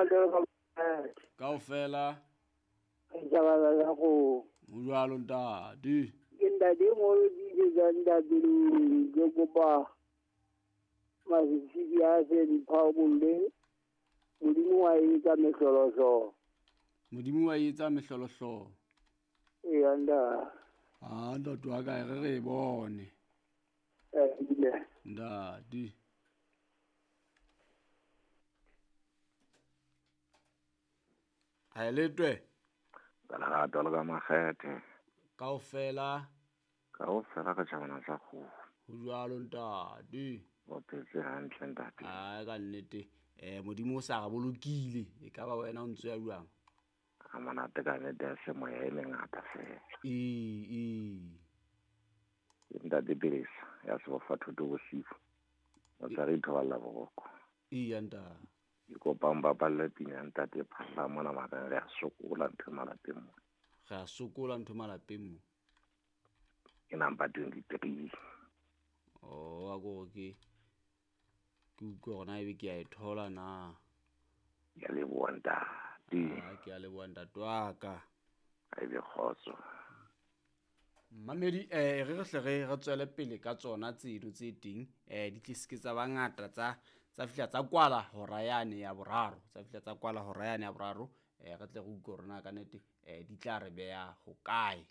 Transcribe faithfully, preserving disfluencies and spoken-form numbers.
jwalo Kaofela. Tjabala la go. Ho jwalo ntate. Ke ntate mo di tsa ntate ke kopa masisi a se di phabolle. Modimo wa etsa mehlolohlolo. Modimo wa etsa mehlolohlolo. Ee nda. Ah ntate wa ka re re bone. Eh ntate. Ha letwe. Ka lerato le ka makgethe. Kaofela. Kaofela ka tjhabana sa kgoho. Ho jwalo ntate. O phetse hantle ntate. Ah ka nnete. Eh Modimo o sa re bolokile. E ka ba wena o ntse ya jwang? A monate ka nnete ya semoya e mengata fela. Ee ee. Ntate Pelesa ya sebofa thuto bosiu. O tla re itholla boroko. Ee ntate. Ke kopa mbapalle pina ntate Phahla mona mara re a sokola ntho malapeng mo. Re a sokola ntho malapeng mo. Ke number twenty-three. Oh a go ke ke utlwe hore na ebe ke a e thola na. Ke a leboha ntate. Ah ke a leboha ntate wa ka. A ebe kgotso. Mamedi eh re re hle re re tswele pele ka tsona tseno tse teng eh di tle seke tsa bangata tsa tsa fihla tsa kwala hora yane ya boraro tsa fihla tsa kwala hora yane ya boraro eh re tle re utlwe hore na ka nnete eh di tla re beha hokae.